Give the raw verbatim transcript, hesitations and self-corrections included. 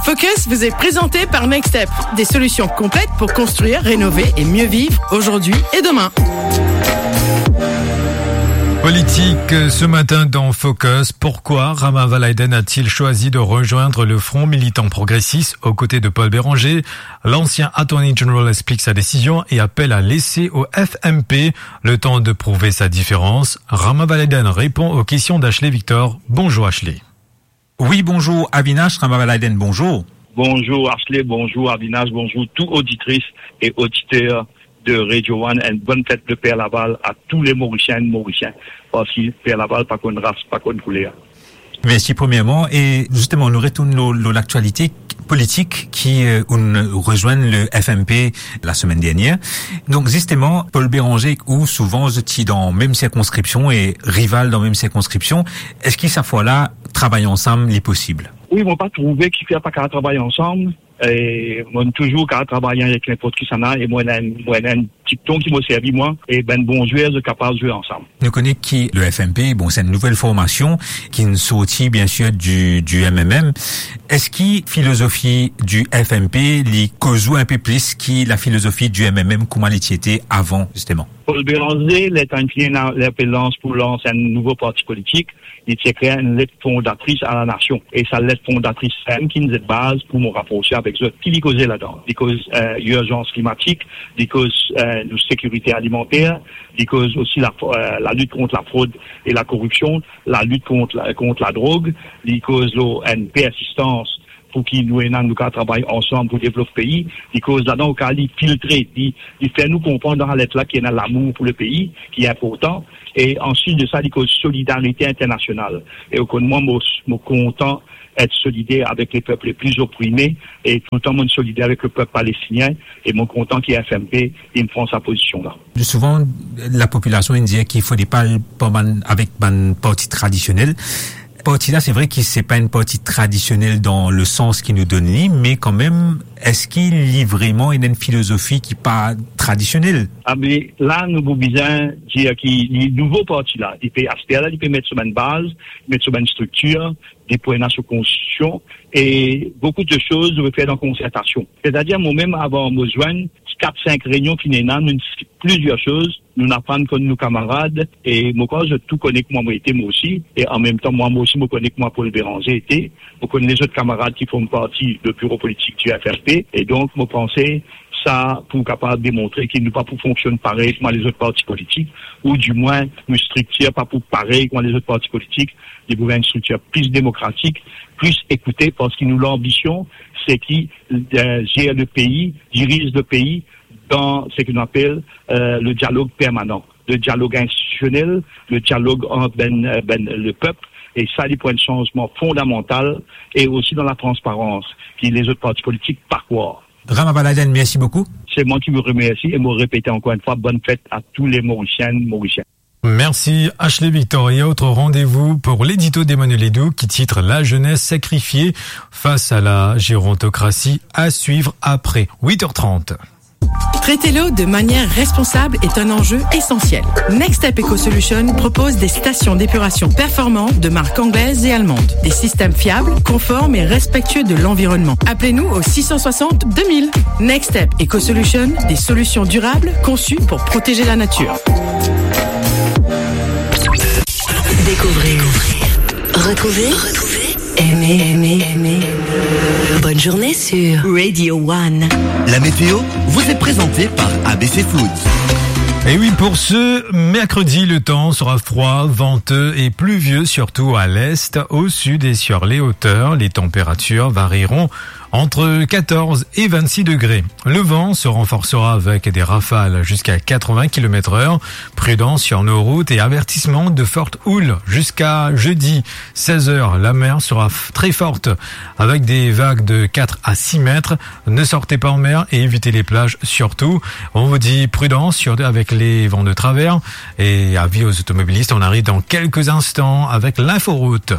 Focus vous est présenté par Nextep, des solutions complètes pour construire, rénover et mieux vivre aujourd'hui et demain. Politique, euh, ce matin dans Focus, pourquoi Ram Evalaiden a-t-il choisi de rejoindre le Front militant progressiste aux côtés de Paul Bérenger ? L'ancien Attorney General explique sa décision et appelle à laisser au F M P le temps de prouver sa différence. Ram Evalaiden répond aux questions d'Ashley Victor. Bonjour Ashley. Oui, bonjour Avinash, Ram Evalaiden, bonjour. Bonjour Ashley, bonjour Avinash, bonjour tout oditris e oditer de Radio One, enn bonn fet de Per Laval a tou le Morisien e Morisien, parski Per Laval pa konn ras, pa konn kouler. Mersi premierman. E zisteman, nou retourn lor, lor laktialite politik ki, euh, ou'nn rezwenn le F M P lasemenn dernier. Donk zisteman, Paul Bérenger ek ou, souvan zot ti dan mem sirkonskripsion e rival dan mem sirkonskripsion. Eski sa fwa la, travay ansam, li posib? Wi, mo pa trouve ki fer pa kapav travay ansam. E mo touzour kapav travay avek ninport kisannla, e mo ena enn, mo ena enn dikton ki mo servi mwa, e bann bon zwer, zot kapav zwe ansam. Nou kone ki le F M P, bon, se enn nouvel formasion ki'nn sorti, biensir, du, du M M M. Eski filozofi du F M P, li koz ou enpe plis ki lafilozofi du M M M, kouma li ti ete avan, zisteman? Paul Bérenger, letan li finn ena lapelans pou lans enn nouvo parti politik, li ti ekrir enn let fondatris a lanasion. E sa let fondatris, sa mem ki inn zet baz pou mo raprose avek zot. Ki li koze ladan? Li koz, euh, irzans klimatik, li koz, euh, nou sekirite alimanter, li koz osi la, euh, lalit kont lafrod e lakoripsion, lalit kont la, kont ladrog, li koz lor enn persistans pou ki nou ena, nou kapav travay ansam pou devlop pei. Li koz ladan, oka li filtre, li, li fer nou konpran dan sa let la ki ena lamour pou lepei, ki inportan. E answit de sa, li koz solidarite internasional. E ou konn mwa, mo, mo kontan et solider avek le pep le pli oprime, e toultan mo solider avek le pep palestinien, e mo kontan ki F M P inn pran sa pozision la. Souvan, lapopilasion inn dir ki fode pa al par bann, avek bann parti tradisionel. Parti la, se vre ki se pa enn parti tradisionel dan le sans ki nou donn li, me kanmem, eski li vreman ena enn filozofi ki pa tradisionel? A, me la, nou pou bizin dir ki li nouvo parti la, li pe, aster la, li pe met so bann baz, met so bann striktir, li pou ena so konstitision, e boukou de soz nou pe fer dan konsertasion. Setadir, mwa mem, avan mo zwenn, kat, sink reynion ki ena, nou plizier soz, nou aprann konn nou kamarad, e mo krwar zot tou kone kouma mo ete, mwa osi, e anmemtan, mwa, mwa osi, mo kone kouma Paul Bérenger ete, mo konn lezot kamarad ki form parti le biro politik di F M P, e donk, mo panse, sa pou kapav demontre ki nou pa pou fonksionn parey kouma lezot parti politik, oudimwin, nou striktir pa pou parey kouma lezot parti politik, li pou enn striktir pli demokratik, pli ekoute, parski nou lanbision, se ki, euh, zer le pei, diriz le pei, dan seki nou apel, euh, le dialog permanan, le dialog institisionel, le dialog ant bann, euh, bann, le pep, e sa, li pou enn sanzman fondamantal, e osi dan latransparans, ki lezot parti politik pa krwar. Ram Evalaiden, mersi boukou. Se mwa ki mo remersi e mo repete ankor enn fwa, bonn fet a tou le Morisien, Morisien. Merci Ashley Victor. Et autre rendez-vous pour l'édito d'Emmanuel Edou qui titre La jeunesse sacrifiée face à la gérontocratie, à suivre après huit heures trente. Traiter l'eau de manière responsable est un enjeu essentiel. Next Step Eco Solution propose des stations d'épuration performantes de marque anglaise et allemande. Des systèmes fiables, conformes et respectueux de l'environnement. Appelez-nous au six cent soixante deux mille. Next Step Eco Solution, des solutions durables conçues pour protéger la nature. Découvrez, retrouvez, aimez, aimez, aimez. Bonne journée sur Radio One. La météo vous est présentée par A B C Foods. Et oui, pour ce mercredi, le temps sera froid, venteux et pluvieux, surtout à l'est, au sud et sur les hauteurs. Les températures varieront entre quatorze et vingt-six degrés. Le vent se renforcera avec des rafales jusqu'à quatre-vingts kilomètres heure. Prudence sur nos routes et avertissement de forte houle jusqu'à jeudi seize heures. La mer sera f-, très forte avec des vagues de quatre à six mètres. Ne sortez pas en mer et évitez les plages surtout. On vous dit prudence sur, avec les vents de travers et avis aux automobilistes. On arrive dans quelques instants avec l'inforoute.